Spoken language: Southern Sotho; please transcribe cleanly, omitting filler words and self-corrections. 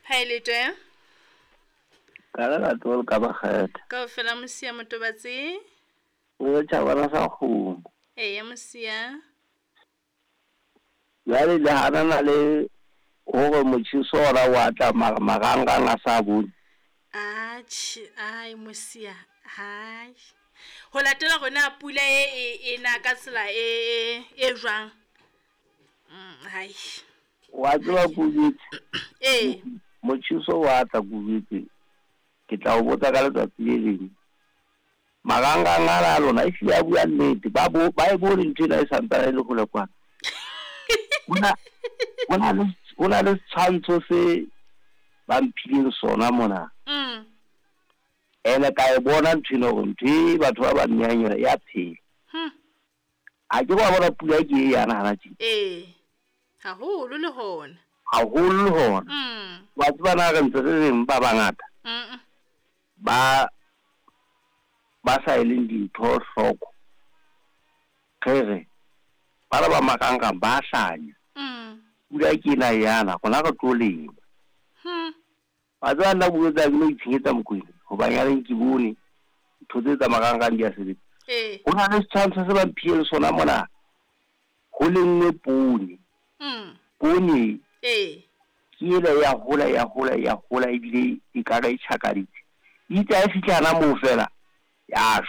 Ha e le twe. Ka le latoa le ka bakgetha. Kaofela Mosia Motobatsi. O tjhabana sa kgomo. Eya Mosia. Jwale le hanana le hore motjheso ona wa tla mara marangrang a sa bone. Atjhe, ai Mosia, hai. Ho latela hore na pula e e e na ka tsela e e e jwang. Hai. Wa tseba Kubetse. Ee. Motjheso wa tla Kubetse. Ke tla o botsa ka letsatsi le leng. Marangrang ana a lona ehlile a bua nnete ba bo ba e bone ntho ena e santsane e le hole kwana. Hona hona le hona le setshwantsho se ba mphileng sona mona. Ene ka e bona ntho ena hore ntho e batho ba ba nnehang yona ya phela. A ke wa bona pula ke e yana hana tje. Ee. Haholo le hona. Haholo le hona. Wa tseba na re ntse re reng ba bangata. Ba ba sa eleng dintho hloko. Re re bana ba marangrang ba hlanya. Pula ke ena yana rona re tlo lema. Wa tseba nna bua tsa ke no itshenyetsa Mokwena hoba nyaneng ke bone ntho tse tsa marangrang di a sebetsa. Ee. Ho na le setshwantsho se ba mphileng sona mona. Ho lengwe poone. Poone Ee. ke ela ya hola ya hola ya hola ebile e ka re e tjhakaditse. Itse ha e fihla hana moo fela ya shwa.